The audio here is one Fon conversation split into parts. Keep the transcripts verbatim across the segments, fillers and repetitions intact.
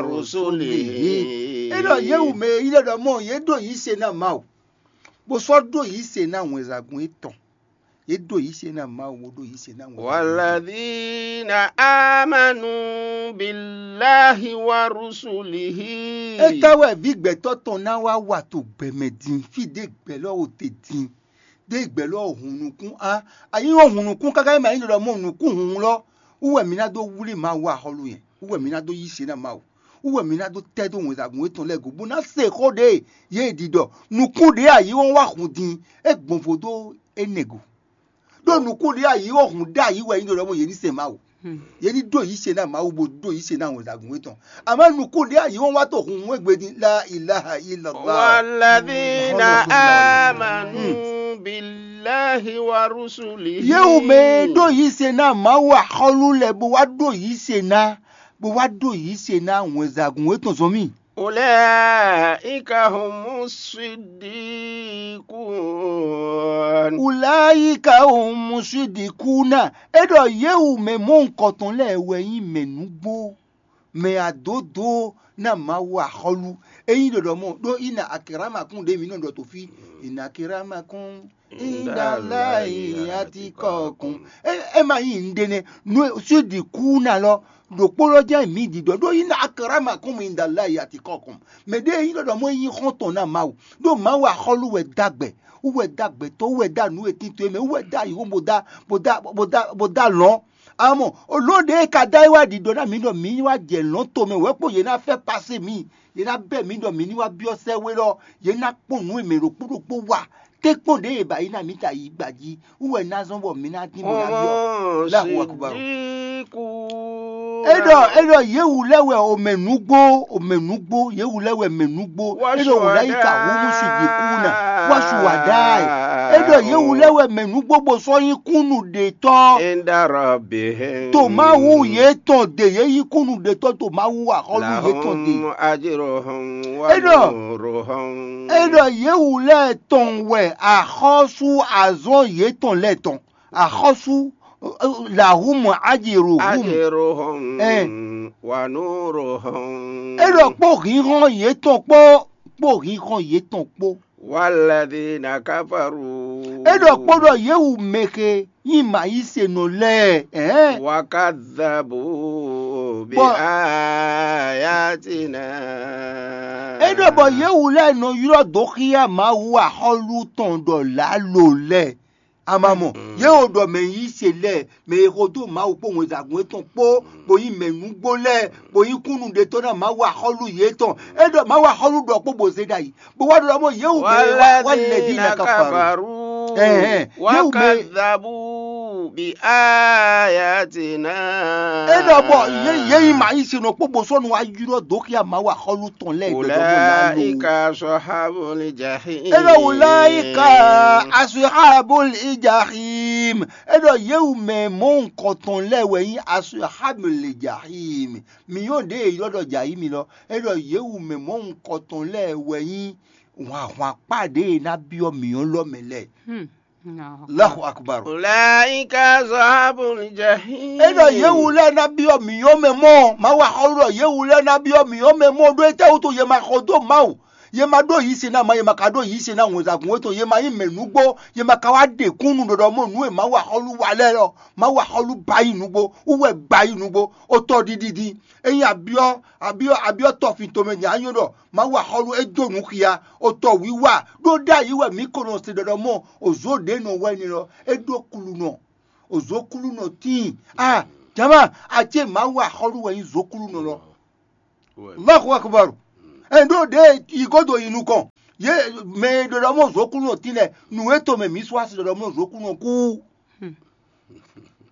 rusulihi. É ɖɔ yě wú mɛ e nyí ɖɔ mɔ yě ɖo yí se ná Mawu, bó sɔ́ ɖo yí se ná wɛnzagún yětɔn. Yě ɖo yí se ná Mawu, bó ɖo yí se ná wɛnzagún yětɔn. Walladhina amanu billahi wa rusulihi. Étɛ́ wɛ vǐ gbɛtɔ́ tɔn ná wá wa to gbɛmɛ din, fí ɖé gbɛ lɔ o te din, ɖé gbɛ lɔ o hun nukún a, a nyí o hun nukún káká ma nyí ɖɔ mɔ nukún hun lɔ, wú wɛ mi ná dó wlí Mawu axɔ́lú yɛn, wú wɛ mi ná dó yí se ná Mawu, wú wɛ mi ná dó tɛ́ dó wɛnzagún yětɔn lɛ́ɛ go, bó ná se xó ɖé yě ɖi ɖɔ nukún ɖé a yí wɔn wá hun din, é gbɔn vo dó énɛ́ go. Ɖó nukún ɖé a yí wɔn hun ɖé a yí wɛ nyí ɖɔ mɔ yě ní se Mawu. Yě ní ɖó yí se ná Mawu bó ɖó yí se ná wɛnzagún yětɔn. Amɔ̌ nukún ɖé a yí wɔn wá to hun hun égbé din la ilaha illallah. Walladhina amanu billahi wa rusulihi. Yě wú mɛ e ɖó yí se ná Mawu axɔ́lú lɛ́ɛ bó wá ɖó yí se ná, bó wá ɖó yí se ná wɛnzagún yětɔn zɔn mì. Ulaika humu siddiqun. Ulaika humu siddiquna. É ɖɔ yě wú mɛ mɔ̌hunkɔtɔn lɛ́ɛ wɛ nyí mɛ nǔgbó, mɛ adǒdó ná Mawu axɔ́lú. É nyí ɖɔɖɔ mɔ ɖó ina akramakum ɖě mǐ nɔ ɖɔ to fí. Ina akramakum indalayi atikɔkum. É é ma nyí nǔɖé nɛ́. Nú siddiquna lɔ ɖokpó lɔ jɛ́n mǐ ɖiɖɔ ɖó ina akramakum indalayi atikɔkum. Mɛ ɖé e nyí ɖɔɖɔ mɔ é nyí xɔ́ntɔn ná Mawu. Ɖó Mawu axɔ́lú wɛ dó agbɛ, wú wɛ dó agbɛtɔ́, wú wɛ dó anǔ e tín to é mɛ, wú wɛ dó ayǐhɔ́n bó dó bó dó bó dó bó dó alɔ̌n. Amɔ̌, olǒ ɖě e ka dó ayé wá ɖiɖɔ ná mǐ ɖɔ mǐ ní wá jɛ lɔ̌n tomɛ wɛ̌ kpo yě ná fɛ́ pasé mǐ, yě ná bɛ́ mǐ ɖɔ mǐ ní wá byɔ́ sɛ́ wé lɔ, yě ná kpɔ́n nǔ e mɛ ɖokpó ɖokpó wa. Tɛ́nkpɔ́n ɖě e ba yi ná mǐ ta yi gba jí, wú wɛ ná zɔ́n bɔ mǐ ná dín bó ná byɔ́. Allahu akbar. É ɖɔ é ɖɔ yě wú lɛ́ wɛ o mɛ nǔgbó, o mɛ nǔgbó, yě wú lɛ́ wɛ mɛ nǔgbó. É ɖɔ wǔ lɛ́ yi ka hú mú si bǐ kú ná, wá su wà ɖá ɛ. É ɖɔ yě wú lɛ́ wɛ mɛ nǔgbó bó sɔ́ nyí kúnnu ɖe tɔ́. Inda rabbihim. To Mawu yětɔn ɖe, yě nyí kúnnu ɖe tɔ́ to Mawu axɔ́lú yětɔn ɖe. Lahum ajruhum wa nuruhum. É ɖɔ yě wú lɛ́ɛ tɔn wɛ axɔ́sú azɔn yětɔn lɛ́ɛ tɔn. Axɔ́sú, lahum ajruhum. Ajruhum wa nuruhum. É ɖɔ kpó hǐnhɔ́n yětɔn kpó, kpó hǐnhɔ́n yětɔn kpó. Walladhina kafaru. É ɖɔ kpó ɖɔ yě wú mɛxe nyí mǎyísenɔ lɛ́ɛ. Wa kadhabu bi ayatina. É ɖɔ bɔ yě wú lɛ́ɛ nɔ ylɔ́ dó xyá Mawu axɔ́lú tɔn ɖɔ lǎlo lɛ́ɛ. A ma mɔ, yě wo ɖɔ mɛ yí se lɛ́ɛ, mɛ e xo dó Mawu kpó wɛnzagún étɔn kpó, bó nyí mɛ nǔgbó lɛ́ɛ, bó nyí kúnnu ɖetɔ́ ná Mawu axɔ́lú yětɔn. É ɖɔ Mawu axɔ́lú ɖɔ kpó bó zé ɖ'ayǐ, bó wá ɖɔ mɔ yě wú mɛ e wá wá lɛ̌ dí ná kafaru. Ɛhɛn, yě wú mɛ. Wakadhabu bi ayatina. É ɖɔ bɔ yě yě nyí mǎ yí se nɔ kpó bó sɔ́ nu wá ylɔ́ dǒ xyá Mawu axɔ́lú tɔn lɛ́ɛ ɖɔɖɔ mɔ ná lo. Ulaika ashabul jahim. É ɖɔ ulaika ashabul jahim. É ɖɔ yě wú mɛ mɔ̌hunkɔtɔn lɛ́ɛ wɛ nyí ashabul jahim. Mǐ nyɔ́ ɖěe è ylɔ́ ɖɔ jǎ yí mi lɔ. É ɖɔ yě wú mɛ mɔ̌hunkɔtɔn lɛ́ɛ wɛ nyí hwanhwan kpá ɖěe ná byɔ́ mǐ ɔ́ lɔ mɛ lɛ́ɛ. Allahu akbar. Ulaika ashabul jahim. É ɖɔ yě wú lɛ́ɛ ná byɔ́ mǐ ɔ́ mɛ mɔ, Mawu axɔ́lú ɖɔ yě wú lɛ́ɛ ná byɔ́ mǐ ɔ́ mɛ mɔ ɖó étɛ́ wútu yě ma xɔ dó Mawu. Yě ma ɖó yǐ se ná ma, yě ma ka ɖó yǐ se ná wɛnzagún étɔn, yě ma nyí mɛ nǔgbó, yě ma ka wá ɖe kúnnu ɖɔɖɔ mɔ nǔ e Mawu axɔ́lú wa lɛ́ɛ lɔ. Mawu axɔ́lú ba yí nǔgbó, wú wɛ gba yí nǔgbó, otɔ ɖiɖi din. É nyí abyɔ́ abyɔ́ abyɔ́ tɔfin tomɛ din anyɔ́ ɖɔ Mawu axɔ́lú é dó nǔ xia, otɔ wíwá ɖó ɖ'ayǐ wɛ mǐ ko nɔ se ɖɔɖɔ mɔ òzó ɖě nɔ wɛ ni lɔ, é ɖó kulunɔ, òzó kulunɔ tíin. A jama, acé Mawu axɔ́lú wɛ nyí zó kulunɔ lɔ. Allahu akbar. Ɛ ɖó ɖě yi godo yi nukɔn. Yě mɛ e ɖo ɖɔ mɔ zokúnɔ tín lɛ, nǔ e to mɛ mǐ sɔ́ asi ɖɔ mɔ zokúnɔ kú.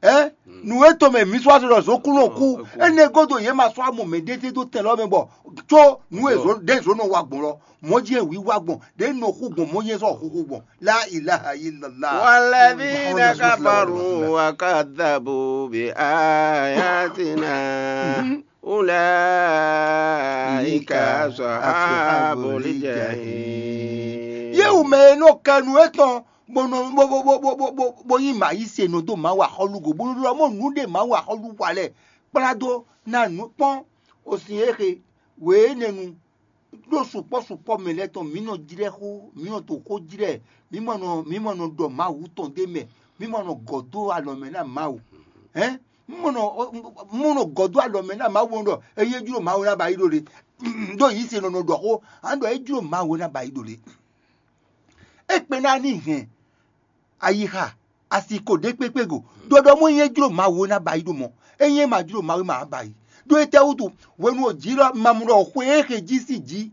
Ɛ nǔ e to mɛ mǐ sɔ́ asi ɖɔ zokúnɔ kú. Énɛ́ godo yě ma sɔ́ amɔ mɛ ɖété dó tɛn lɔ mɛ bɔ có nǔ e zǒ ɖé zǒ nɔ wa gbɔn lɔ, mɔ̌ jí wǐ wa gbɔn, ɖě nɔ xú gbɔn, mɔ̌ jí sɔ́ xúxú gbɔn. La ilaha illallah. Walladhina kafaru wa kadhabu bi ayatina. Ulaika ashabul jahim. Yé wú mɛ e nɔ kɛ nú étɔn bó nɔ bó bó bó bó bó bó bó nyí mǎ yí se nɔ dó Mawu axɔ́lú go, bó nɔ ɖɔ mɔ nǔ ɖe Mawu axɔ́lú wa lɛ kplá dó ná nǔ kpɔ́n osin e xe Wě énɛ́ nu, ɖó sukpɔ́ sukpɔ́ mɛ lɛ́ɛ tɔn, mǐ nɔ jlɛ́ xó, mǐ nɔ to xó jlɛ́, mǐ mɔ nɔ mǐ mɔ nɔ ɖɔ Mawu tɔn ɖ'é mɛ, mǐ mɔ nɔ gɔ̌ dó alɔ mɛ ná Mawu. Hɛn, mǐ mɔ nɔ mǐ mɔ nɔ gɔ̌ dó alɔ mɛ ná Mawu ɖɔ ényí é jló Mawu ná ba yi ɖo le. Ɖó yǐ se nɔ nɔ ɖɔ xó, a nɔ ɖɔ é jló Mawu ná ba yi ɖo le. É kpe ná ní hɛn ayixa, asi ko ɖě kpékpé go. Ɖɔɖɔ mɔ nyɛ jló Mawu ná ba yi ɖo mɔ. Ényí é ma jló Mawu ma ba yi. Ɖó étɛ́ wútu? Hwenu ò jǐ ɖɔ ma mɔ ɖɔ xwe e xe jí sín jǐ.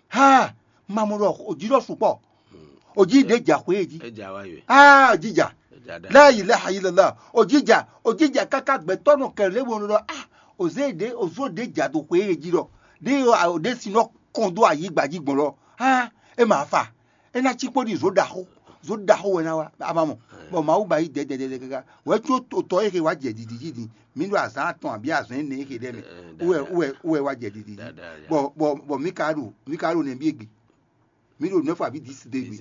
Ha, ma mɔ ɖɔ ò jǐ ɖɔ sukpɔ́. Ò jǐ ɖě ja xwe e jí. Ejǎ wá yɔ. Ah, jija. Ejǎ ɖa. La ilaha illallah. Ò jija, ò jija káká gbɛtɔ́ nɔ kɛlɛ lé wo ɖɔ ah, ò zé ɖě ò zó ɖě ja do xwe e jí ɖɔ. Ɖé ò ɖě sin nɔ kɔn dó ayǐgba jí gbɔn ɖɔ. Ah, é ma fa. É ná cí kpó ɖi zǒ ɖaxó. Zǒ ɖaxó wɛ ná wá, a ma mɔ. Bɔ Mawu ba yí dɛdɛdɛdɛ káká. Wɛ có tɔ e xe wá jɛ ɖiɖi jí din. Mǐ ɖo azǎn atɔn abǐ azǎn énɛ́ e xe ɖɛ mɛ. Wɛ wɛ wɛ wá jɛ ɖiɖi jí. Bɔ bɔ bɔ mǐ ka ɖo mǐ ka ɖo nɛ̌ bí egbe. Mǐ ɖo nɛ̌ fɔ abǐ dǐsi do egbe.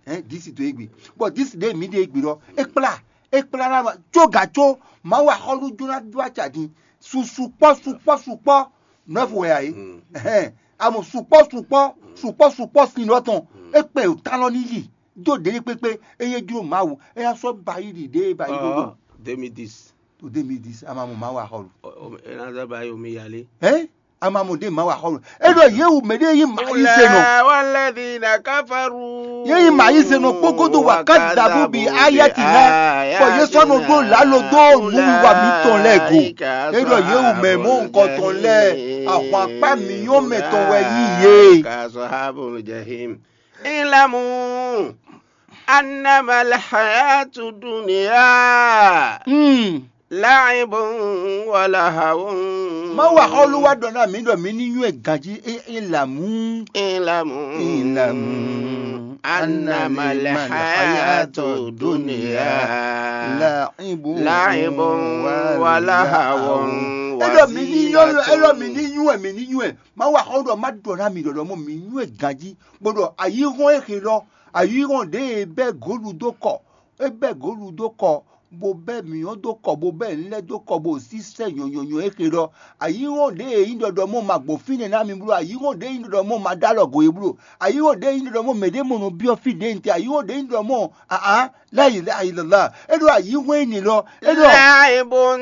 Hɛn dǐsi do egbe. Bɔ dǐsi ɖe mǐ ɖe egbe lɔ. É kplá é kplá ná có gǎ có Mawu axɔ́lú jó ná dó acǎ din. Su sukpɔ́ sukpɔ́ sukpɔ́ nɔ́ fu wɛ ǎ é. Hɛn amɔ sukpɔ́ sukpɔ́ sukpɔ́ sukpɔ́ sin lɔ tɔn. É kpɛ o talɔ ní yi. Dó ɖě kpékpé eye jló Mawu é ná sɔ́ ba yi ɖi ɖě ba yi ɖo ɖo. deux mille dix. To deux mille dix ama mɔ Mawu axɔlu. Ena zɔ ba yi omi yalé. Hɛn ama mɔ ɖe Mawu axɔlu. E ɖɔ yé wu mɛ ɖé yi ma yi se nɔ. Walladhina kafaru. Yé yi ma yi se nɔ kpókódó wa ká dabu bi ayati hã. Bɔ yé sɔ́ nɔ ɖó lalo dó nuwiwa mǐtɔn lɛ́ɛ go. E ɖɔ yé wu mɛ mɔ nukɔntɔn lɛ́ɛ ahwan akpá mǐnyɔ́mɛ tɔn wɛ yí yé. Ka ashabul jahim. Ilamu annama alhayatu dunya. Hmm. La'ibun wa lahawun. Má wa xɔlu wá ɖɔ ná mǐ ɖɔ mǐ ní nywɛ́ ganjí é é lǎmú. Ilamu. Ilamu. Annama alhayatu dunya. La'ibun. La'ibun wa lahawun. É ɖɔ mí ní nyɔ́ é ɖɔ mí ní nywɛ́ mí ní nywɛ́. Má wa xɔlu ɖɔ má ɖɔ ná mǐ ɖɔ ɖɔ mɔ mǐ nywɛ́ ganjí. Bó ɖɔ ayǐhɔ́n e xe lɔ ayǐhɔ́n ɖě e bɛ́ gǒlu dó kɔ é bɛ́ gǒlu dó kɔ bó bɛ́ mǐnyɔ́ dó kɔ bó bɛ́ nǔ lɛ́ɛ dó kɔ bó sísɛ́ nyɔ̌nyɔ́nyɔ́ e xe lɔ. Ayǐhɔ́n ɖě e nyí ɖɔɖɔ mɔ ma gbɔn fínɛ́ ná mi bló ayǐhɔ́n ɖě e nyí ɖɔɖɔ mɔ ma ɖó alɔ go e bló ayǐhɔ́n ɖě e nyí ɖɔɖɔ mɔ mɛɖé mɔ nɔ byɔ́ fí ɖě nte ayǐhɔ́n ɖě e nyí ɖɔɖɔ mɔ aa láyi láyi lɔlá é ɖo ayǐhɔ́n énɛ́ lɔ é ɖɔ Laibun.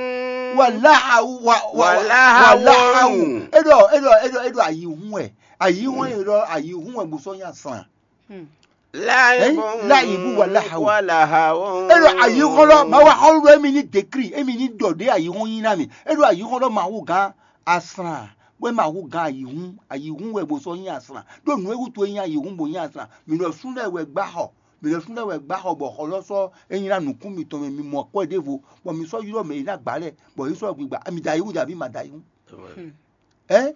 Wàláhàwù wàláhàwù é ɖɔ é ɖɔ é ɖɔ é ɖɔ ayǐhún wɛ ayǐhún wɛ é ɖɔ ayǐhún wɛ bó sɔ́ nyí asán. Laibun. Láyìnbú wàláhàwù. Wàláhàwù. É ɖɔ ayǐhún lɔ Mawu axɔ́lú ɖɔ émi ní dékrí émi ní ɖɔ ɖě ayǐhún nyí ná mi é ɖɔ ayǐhún lɔ Mawu gán asán bó é Mawu gán ayǐhún ayǐhún wɛ bó sɔ́ nyí asán ɖó nǔ e wútu é nyí ayǐhún bó nyí asán mǐ ɖɔ sú lɛ́ɛ wɛ gbá xɔ mǐ ɖɔ sú lɛ́ɛ wɛ gbá xɔ bɔ xɔ lɔ sɔ́ é nyí ná nǔkún mitɔn mɛ mi mɔ akwɛ́ ɖěvo bɔ mi sɔ́ ylɔ́ mɛ e ná gbǎ lɛ́ɛ bɔ yě sɔ́ gbigba mi da ayǐhún jà bí ma da ayǐhún. Ɛ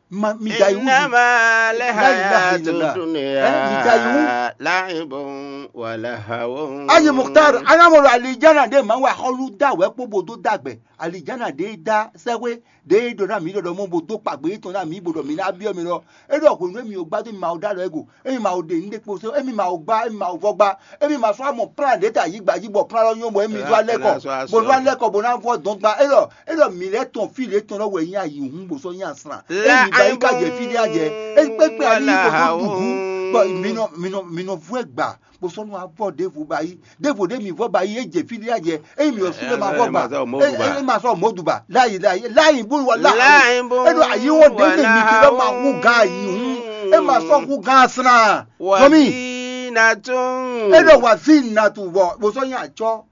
ma mi da yi wú. Innama lhayatu dunya. Ɛ mi da yi wú. La'ibun wa lahawun. Ayi Mukhtar, anamolo alijana ɖe ma wa xɔlu da wɛ kpó bo dó dàgbɛ. Alijana ɖe da sɛwé ɖe ɖo na mi ɖɔɖɔ mɔ bo dó kpagbe tɔn na mi bo ɖɔ mi na biɔ mi lɔ. E ɖɔ hwenu mi o gbado mi ma o da lɔ ego. Emi ma o ɖe nu ɖe kpo se. Emi ma o gba, emi ma o vɔ gba. Emi ma sɔ amɔ plan ɖe ta yi gba yi bɔ plan lɔ nyɔ bɔ emi zɔ alɛ kɔ. Bo zɔ alɛ kɔ bo na vɔ dɔn gba. E ɖɔ Eɖɔ mǐ lɛ́ tɔn fí lě tɔn lɔ wɛ nyí ayǐhún bó sɔ́ nyí asran. Ényí mi ba yi ka jɛ fí ɖé a jɛ. É kpékpé ali yi bó dó dǔgú. Bɔ mǐ nɔ mǐ nɔ mǐ nɔ vú ɛ gbà bó sɔ́ nú avɔ ɖěvo ba yí. Ɖěvo ɖé mǐ vɔ ba yí é jɛ fí ɖé a jɛ. Ényí mǐ ɔ́ sú lé ma vɔ gbà. É ma sɔ mɔ̌ dùbà. Láyì láyì láyì bó wà láhàwù. Eɖɔ ayǐwɔn ɖé lè mǐ fi lɔ ma hú gán ayǐhún. É ma sɔ hú gán asran. Sɔmí. Eɖɔ wà sí nàtù bɔ bó sɔ́ nyí àcɔ.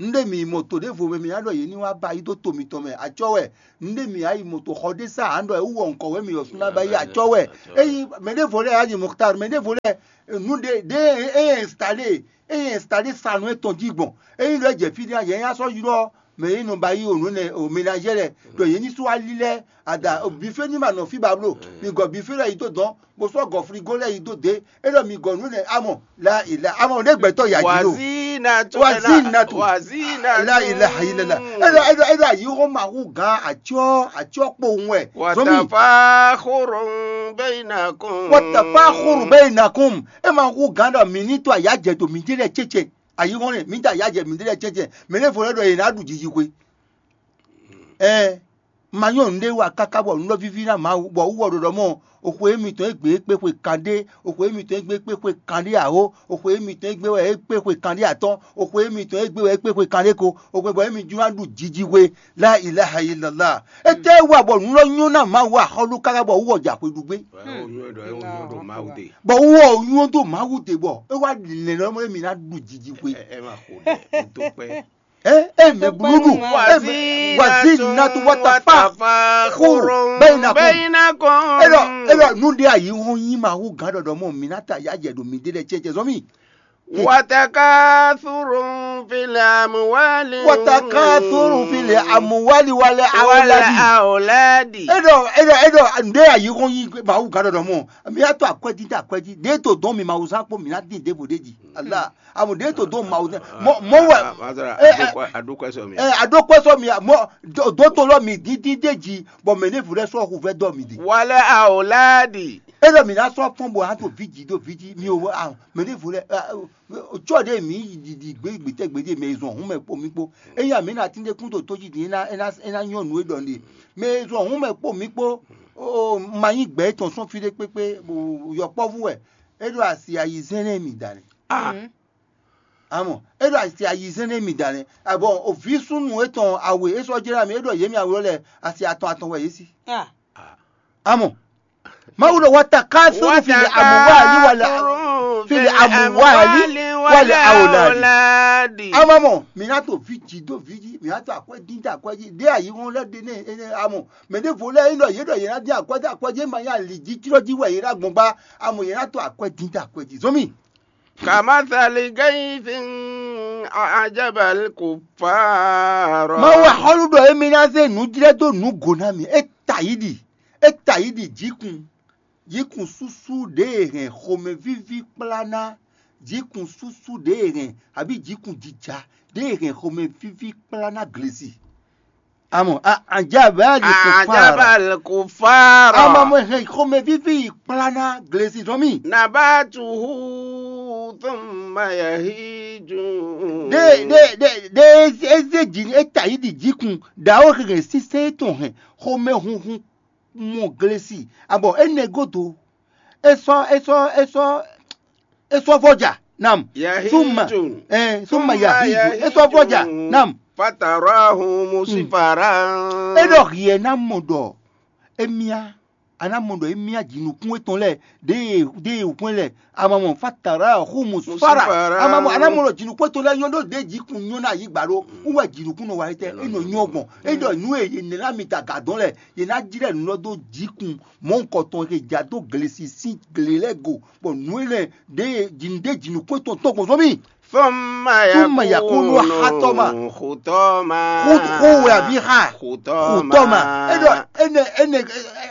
Nɖé mǐ yi mɔ to ɖěvo mɛ mǐ ná ɖɔ yě ní wá ba yi dó to mitɔn mɛ acɔ́ wɛ. Nɖé mǐ yi mɔ to xɔ ɖé sá ǎ ɖɔ é wú wɔ nukɔn wɛ mǐ yɔ sú ná ba yi acɔ́ wɛ. Eyi mɛ ɖěvo lɛ́ɛ ayi Muktar mɛ ɖěvo lɛ́ɛ nǔ ɖé ɖé é yɛ installé é yɛ installé sanu étɔn jí gbɔn. Eyi ɖɔ é jɛ fí ɖé yɛ nyá sɔ́ ylɔ́ mɛ e nɔ ba yi o nǔ nɛ o ménagé lɛ ɖɔ yě ní sú ali lɛ́ɛ ada bifé ní ma nɔ fí ba bló. Mi gɔ bifé lɛ́ɛ yi dó dɔn bó sɔ́ gɔ frigo lɛ́ɛ yi dó dě. É ɖɔ mi gɔ nǔ nɛ amɔ la ìlà amɔ ɖé gbɛtɔ́ yà jí lò. Wazinatu. Wazinatu. Wazinatu. La ilaha illallah. É ɖɔ é ɖɔ é ɖɔ ayǐhɔ́n ma hú gán atyɔ́ atyɔ́ kpowun wɛ. Zɔmí. Watafakhurun bainakum. Watafakhurun bainakum. É ma hú gán ɖɔ mi ní to ayǎ jɛ to mi dé lɛ cécé. Ayǐhɔ́n nɛ mi dé ayǎ jɛ mi dé lɛ cécé. Mɛ ɖěvo lɛ́ ɖɔ yě ná ɖu jijixwe. Ɛɛ. Ma nyɔ́ nǔɖé wa káká bɔ nǔ lɔ víví ná Mawu, bɔ wú wɔ ɖɔɖɔ mɔ, oxwe émítɔn e gbe é kpé xwe kanɖé, oxwe émítɔn e gbe é kpé xwe kanɖé awo, oxwe émítɔn e gbe wɛ é kpé xwe kanɖé atɔ́n, oxwe émítɔn e gbe wɛ é kpé xwe kanɖé ko, oxwe bɔ émí jló ná ɖu jiji hwe. La ilaha illallah. Étɛ́ wa bɔ nǔ lɔ nyɔ́ ná Mawu axɔ́lú káká bɔ wú wɔ jɛ axwe ɖu gbé? Bɔ wú wɔ nyɔ́ dó Mawu de bɔ é wá lɛ̌n lɔ mɔ émí ná ɖu jiji hwe. Ɛ ɛ ma xo ɖɛ, un dó kpɛ. Ɛ ɛ mɛ blúɖu. Wazina tu wata fa xuru bɛyina kɔn. Elɔ elɔ nu ɖe ayi hɔn nyi ma hu gan ɖɔɖɔ mɔ mi na ta ya jɛ ɖo mi ɖe lɛ cɛ cɛ zɔn mi. Watakathurun fil amwali. Watakathurun fil amwali wal awladi. Edɔ edɔ edɔ nu ɖe ayi hɔn nyi ma hu gan ɖɔɖɔ mɔ mi ya to akwɛdi ta akwɛdi ɖe to dɔn mi ma hu zan kpo mi na din ɖevo ɖe ji. Allah. Amu ɖe to dó Mawu tɛn. Mɔ mɔ wɛ. Mazara, ɛ, ɛ, aɖókòɛ sɔ mi. Ɛ, aɖókòɛ sɔ mi mɔ dótó lɔ mi dídí dé jí bɔ mɛ ne vlɛ sɔ hu vɛ dɔ mi di. Wale aoladi. E lɔ mi na sɔ fɔn bo ato viji do viji mi o a mɛ ne vlɛ tsɔ de mi yi didi gbe gbetɛ gbe de mɛ zɔn hun mɛ kpo mi kpo eya mi na tinde kun to to ji di ena ena ena nyɔ nu e dɔ ne mɛ zɔn hun mɛ kpo mi kpo o ma nyi gbɛ etɔn sɔn fi de kpekpe yɔkpɔvu wɛ e ɖo asi ayi zɛn ne mi da ne. Amɔ é ɖo asi ayizɛ́n nú mì da nɛ́. Abɔ vǐ súnnu étɔn awe é sɔ́ jlá mì, é ɖɔ yě mì awlɔ́ lɛ́ɛ asi atɔn atɔn wɛ yě sí. Amɔ Mawu ɖɔ wata ká sóru fili amuwali wala fili amuwali wala awolali. Amɔ mɔ mǐ ná to vǐ jǐ dó vǐ jí, mǐ ná to akwɛ́ dín dó akwɛ́ jí, ɖé ayǐhɔ́n lɛ́ɛ ɖe nɛ́ énɛ́ amɔ mɛ ɖěvo lɛ́ɛ é ɖɔ yě ɖɔ yě ná dín akwɛ́ dó akwɛ́ jí, é ma nyí ali jí jlɔ́ jí wɛ yě ná gbɔn gbá, amɔ yě ná to akwɛ́ dín dó akwɛ́ jí. Zɔ́n mì. Kamathali gayithin ajabal kufara. Mawu axɔ́lú ɖɔ émí ná zé nǔ jlɛ́ dó nǔ go ná mì. É ta yí ɖi, é ta yí ɖi jǐkun, jǐkun súsú ɖě e hɛn xomɛvíví kplá ná, jǐkun súsú ɖě e hɛn abǐ jǐkun jija ɖě e hɛn xomɛvíví kplá ná glesi. Amɔ, a- ajabal kufara. Ajabal kufara. Ama mo hɛn xomɛvíví yi kplá ná glesi zɔn mì. Nabatuhu thumma yahiju. Ɖe ɖe ɖe ɖe eze dzi e ta yi ɖi jikun ɖawo hɛn sísɛ etɔn hɛn xomɛhunhun mɔ glesi. Abɔ énɛ́ godo, é sɔ́ é sɔ́ é sɔ́ é sɔ́ vɔ́ ja nam. Suma Yahiju. Ɛ suma yahidu é sɔ́ vɔ́ ja nam. Fatarahu musifara. É ɖɔ hiɛ ná mɔ ɖɔ émía a ná mɔ ɖɔ émía jǐnukún étɔn lɛ́ɛ ɖěe ɖěe hwɛ́n lɛ́ɛ a ma mɔ fatara xu musifara. A ma mɔ a ná mɔ ɖɔ jǐnukún étɔn lɛ́ɛ nyɔ́ ɖó ɖě jǐkun nyɔ́ ná yǐ gbǎ ɖó wú wɛ jǐnukún nɔ wa étɛ́ é nɔ nyɔ́ gbɔn. É ɖɔ nǔ e yě nɛ́ ná mi ta gǎ dɔn lɛ́ɛ yě ná jlɛ́ nǔ lɔ dó jǐkun mɔ̌hunkɔtɔn e ja dó glesi sín gle lɛ́ɛ go bɔ nǔ énɛ́ ɖě jǐnú ɖé jǐnukún tɔn tɔn gbɔn zɔ́n mì. Thumma Thumma yakunu yakunu hatɔma. Hutɔma. Xu wɛ àbí xa? Hutɔma. Xutɔma. É ɖɔ énɛ́ énɛ́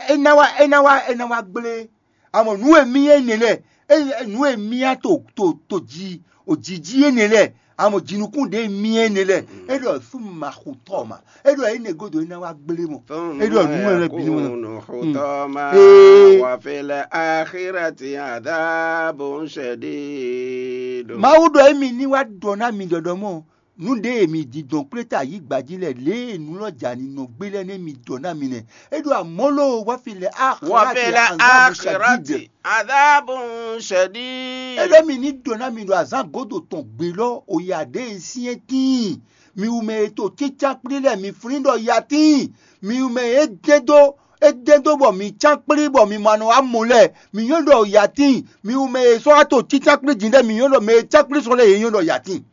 é ná wá é ná wá é ná wá gblé. Amɔ nǔ e mì énɛ́ lɛ́ɛ é nǔ e mì á to to to ji o jǐjí énɛ́ lɛ́ɛ amɔ jǐnukún ɖě mì énɛ́ lɛ́ɛ é ɖɔ thumma hutɔma. É ɖɔ énɛ́ godo é ná wá gblé mɔ. É ɖɔ nǔ e lɛ́ bǐ ní mɔ. Hutɔma. Ee. Wa fil akhirati adhabun shadid. Mawu ɖɔ émi ní wá ɖɔ ná mi ɖɔɖɔ mɔ nǔ ɖé e mi didɔn kplé ta yí gbají lɛ lě e nǔ lɔ ja ní nɔ gbé lɛ́ nɛ́ mi ɖɔ ná mi nɛ. É ɖo amɔ̌ lóo wá fi lɛ axirati azabu shadid. Adabun shadid. É ɖɔ mi ní ɖɔ ná mi ɖo azǎn gǒdo tɔn gbe lɔ oya ɖě e syɛ́n tíin. Mi wú mɛ e to cícán kplí lɛ mi flín ɖɔ ya tíin. Mi wú mɛ e dɛn dó e dɛn dó bɔ mi cán kplí bɔ mi ma nɔ wá mɔ lɛ mi nyɔ́ ɖɔ ya tíin. Mi wú mɛ e sɔ́ wá to cícán kplí din lɛ mi nyɔ́ ɖɔ mɛ e cán kplí sɔ́ lɛ yě nyɔ́ ɖɔ ya tíin.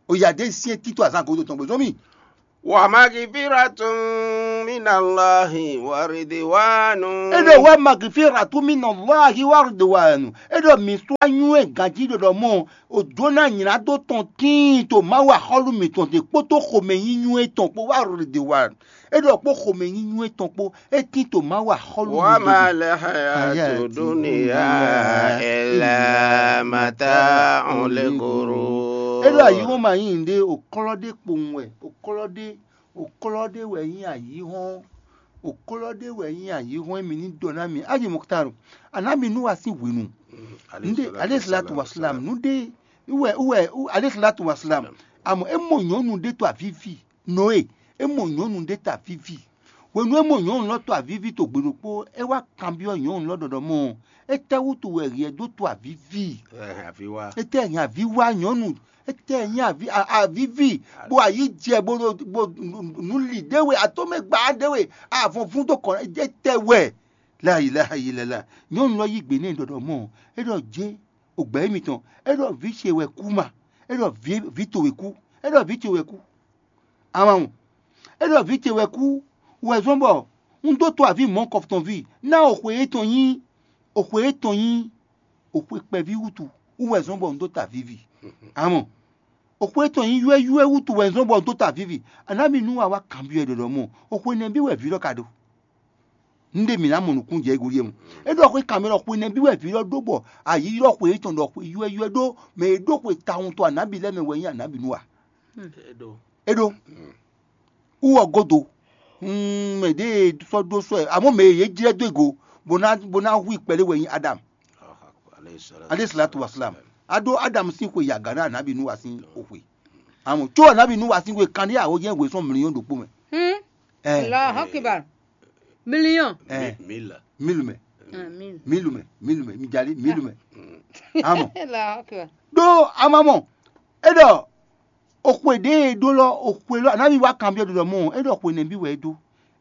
Oya ɖě syɛ́n tito azán gǒdo tɔn gbezɔ́n mì. Wa magfiratun minallahi wa ridwanu. É ɖɔ wa magfiratun minallahi wa ridwanu. É ɖɔ mǐ sɔ́ anyú e ganjí ɖɔɖɔ mɔ o jǒ ná nylá dó tɔn tíin to Mawu axɔ́lú mǐtɔn ɖe kpódó xomɛnyínyú etɔn kpó wa ridwanu. É ɖɔ kpó xomɛnyínyú etɔn kpó é tín to Mawu axɔ́lú Wa mǐtɔn ma ɖe. Lil hayatu dunya illa mata'ul ghurur. É ɖɔ ayǐhɔ́n ma nyí nǔɖé, òklɔ́ ɖé kpowun wɛ, òklɔ́ ɖé, òklɔ́ ɖé wɛ nyí ayǐhɔ́n, òklɔ́ ɖé wɛ nyí ayǐhɔ́n e mǐ ní ɖɔ ná mi. Aji Muktaru, anábì Nuwa sín hwenu. Nde aleyhisalatu wasalam, nde wɛ wɛ aleyhisalatu wasalam. Amɔ é mɔ nyɔ̌nu ɖé to avíví, Noé, é mɔ nyɔ̌nu ɖé to avíví. Hwenu e mɔ nyɔ̌nu lɔ to avǐvi to gbe ɖokpó, é wá kanbyɔ́ nyɔ̌nu lɔ ɖɔ ɖɔ mɔ, étɛ́wútu wɛ hyɛ dó to avǐvi? Ɛ, avi wá. Étɛ́ nyí avǐ wá nyɔ̌nu? Étɛ́ nyí avǐ a- avǐvi? Bó ayǐ jɛ bó ɖo bó nǔ li ɖé we, atɔ́mɛ gba ɖé we, avɔnvún dó kɔn étɛ́ wɛ? La ilaha illallah. Nyɔ̌nu lɔ yí gbe n'i ɖɔ ɖɔ mɔ, é ɖɔ jé, ogbɛ̌ émítɔn, é ɖɔ vǐ ce wɛ kú ma, é ɖɔ vǐ vǐ towe kú, é ɖɔ vǐ ce wɛ kú. Amamɔ, é ɖɔ vǐ ce wɛ kú, wɛ zɔ́n bɔ un dó to avǐ mɔ̌ kɔfutɔnví ná oxwe étɔn nyí oxwe étɔn nyí oxwe kpɛví wútu wú wɛ zɔ́n bɔ un dó ta vǐvi. Amɔ, oxwe étɔn nyí ywɛ́ywɛ́ wútu wɛ zɔ́n bɔ un dó ta vǐvi. Anábì nú wa wá kanbyɔ́ ɛ ɖɔɖɔ mɔ, oxwe nɛbí wɛ vǐ lɔ ka ɖó? Nɖé mǐ ná mɔ nǔkún jɛ égo ɖíe mu. É ɖɔ xwé kanmɛ ɖɔ xwe nɛbí wɛ vǐ lɔ ɖó bɔ ayǐ ylɔ́ xwe étɔn ɖɔ xwe ywɛ́ywɛ́ ɖó mɛ e ɖó xwe tawun to anábì lɛ́ɛ mɛ wɛ nyí anábì nú a? É ɖó. Wú ɔ godo. Mɛ ɖě e sɔ́ ɖó sɔ́ ɛ amɔ̌ mɛ e yě jlɛ́ dó e go bó ná bó ná hu i kpɛɖé wɛ nyí Adam. Aleyhi salatu wasalam. A ɖó Adam sín xwe yi aga ná anábì nú a sín xwe. Amɔ̌ có anábì nú a sín xwe kanɖé awo jẹ́ hwe sɔ́ mliyɔn ɖokpó mɛ. Ɛ. Allahu Akbar. Million. Ɛ. Mila. Milu mɛ. Amin. Milu mɛ. Milu mɛ. Mi jali milu mɛ. Amɔ. Allahu Akbar. Ɖó amamɔ. E ɖɔ oxwe ɖe e ɖó lɔ oxwe lɔ anabi wa kanbyɔ ɖɔɖɔ mɔ e ɖɔ xwe nɛbi wɛ e ɖó.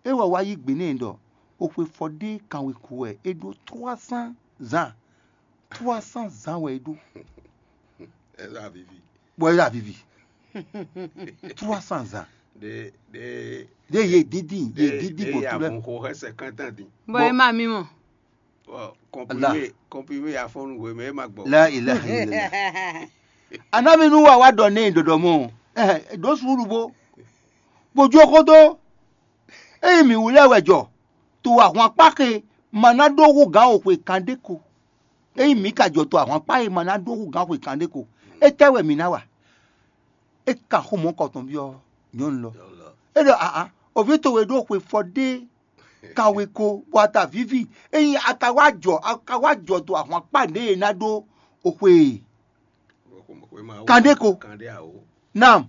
E wɔ wa yí gbe nɛ ɖɔ oxwe fɔ ɖe kanwe ku wɛ e ɖó trois cents ans. Trois cents ans wɛ e ɖó. Eza vivi. Bɔ e ɖo avivi. Trois cents ans. De de Ɖe ye didi ye de didi de bɔ ya tu ɖe. Bon xo xɛsɛ kantan din. Bɔ e ma mi mɔ. Bon, comprimé comprimé ya fɔnu we mɛ e ma gbɔ. La ilaha illallah. Anabi nu wa wa ɖɔ ne ɖɔɖɔ mɔ. Eh, ɖo suru bo. Bo jo kodo. Eyi mi wulɛ wɛ jɔ. To ahwan kpa xe ma na ɖo hu gan o xwe kan ɖe ko. Eyi mi ka jɔ to ahwan kpa e ma na ɖo hu gan xwe kan ɖe ko. Etɛ wɛ mi na wa? É ka xó mɔ̌ kɔtɔn byɔ́ nyɔ̌nu lɔ. É ɖɔ aa, oví towe ɖó xwe fɔ ɖé kawe ko bɔ a ta víví. Ényí a ka wá jɔ a ka wá jɔ do ahwan kpá ɖě e ná ɖó oxwe e. Kan ɖé ko. Kan ɖé awo. Nam.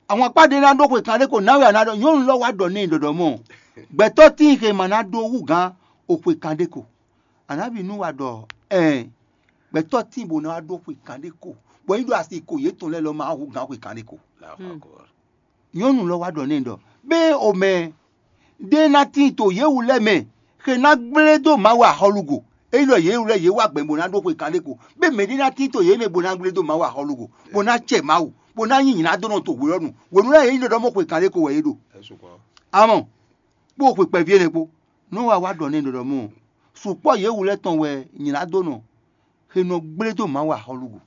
Ahwan kpá ɖě ná ɖó xwe kan ɖé ko ná wɛ a ná ɖɔ nyɔ̌nu lɔ wá ɖɔ n'i ɖɔɖɔ mɔ. Gbɛtɔ́ tíin xe ma ná ɖó hú gǎn oxwe kan ɖé ko. Anabi nu wa ɖɔ ɛɛ gbɛtɔ́ tíin bó ná wá ɖó xwe kan ɖé ko, bɔ é ɖo asi ko yětɔn lɛ́ɛ lɔ ma hú gǎn xwe kan ɖé ko. Nyɔ̌nu lɔ wá ɖɔ n'i ɖɔ bɛ́ omɛ ɖé ná tíin to yě wú lɛ́ɛ mɛ xe ná gblé dó Mawu axɔ́lúgo. É ɖɔ yě wú lɛ́ɛ yě wá gbɛn bó ná ɖó xwe kan ɖé ko, bɛ́ mɛ ɖé ná tíin to yě mɛ bó ná gblé dó Mawu axɔ́lúgo, bó ná cɛ Mawu, bó ná nyí nyǐnádónɔ to hwelɔ́nu. Hwenu lɛ́ɛ yě nyí ɖɔɖɔ́ mɔ xwe kan ɖé ko wɛ yě ɖo. Amɔ kpó xwe kpɛví énɛ́ kpó. Nɔ́ wa wá ɖɔ n'i ɖɔɖɔ mɔ sukpɔ́ yě wú lɛ́ɛ tɔn wɛ nylá dó nɔ xe nɔ gblé dó Mawu axɔ́lúgo.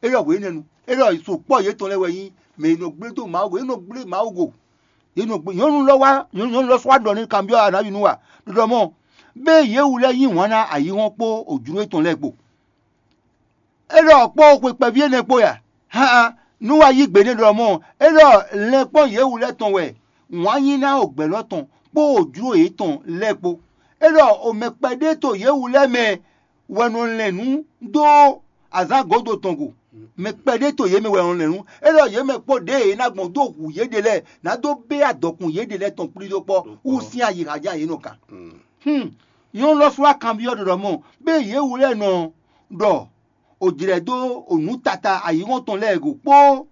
É ɖɔ hwenɛ́nu, é ɖɔ sukpɔ́ yětɔn lɛ́ɛ wɛ nyí mɛ e nɔ gblé dó Mawu go, é nɔ gblé Mawu go. Yě nɔ gblé nyɔ̌nu lɔ wá nyɔ̌nu lɔ sɔ́ wá ɖɔ n'i kanbyɔ́ Anabi nu wa ɖɔɖɔ mɔ bé yě wú lɛ́ɛ yí wǎn ná ayǐhɔ́n kpó ojlú yětɔn lɛ́ɛ kpo. É ɖɔ kpó xwe kpɛví énɛ́ kpó ya? Haan, nú wa yí gbe n'i ɖɔ mɔ é ɖɔ lɛn kpɔ́n yě wú lɛ́ɛ tɔn wɛ wǎn yí ná o gbɛ̌ lɔ tɔn kpó o jló yětɔn lɛ́ɛ kpó. É ɖɔ o mɛ kpɛɖé to yě wú lɛ́ɛ mɛ wɛ nɔ lɛn nǔ dó azǎn gǒdo tɔn go. Mɛ kpɛɖé to yě mɛ wɛ nɔ lɛn nǔ. É ɖɔ yě mɛ kpó ɖěe é ná gbɔn dó hu yěɖée lɛ́ɛ ná dó bé adɔkun yěɖée lɛ́ɛ tɔn kplí dó kpɔ́ wú sín ayixa ján yě nɔ kan. Hmm. Nyɔ̌nu lɔ sɔ́ wá kanbyɔ́ ɖɔɖɔ mɔ bé yě wú lɛ́ɛ nɔ ɖɔ o jlɛ̌ dó o nǔ tata ayǐhɔ́n tɔn lɛ́ɛ go kpó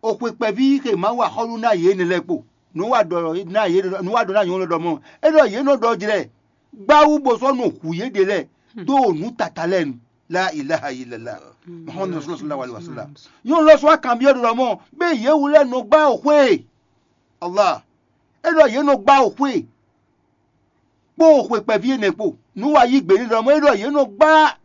o xwe kpɛví xe Mawu axɔ́lú ná yě énɛ́ lɛ́ɛ kpo. Nǔ wa ɖɔ ná yě nǔ wa ɖɔ ná nyɔ̌nu lɔ ɖɔ mɔ é ɖɔ yě nɔ ɖɔ jlɛ gbáwú bó sɔ́ nɔ hu yě ɖe lɛ́ɛ dó o nǔ tata lɛ́ɛ nu. La ilaha illallah. Muhammadu rasulullah sallallahu alaihi wasallam. Nyɔ̌nu lɔ sɔ́ wá kanbyɔ́ ɖɔ mɔ bé yě wú lɛ́ɛ nɔ gbá o xwé e. Allah. É ɖɔ yě nɔ gbá o xwé e. Kpó o xwe kpɛví énɛ́ kpo. Nǔ wa yí gbe n'i ɖɔ mɔ é ɖɔ yě nɔ gbá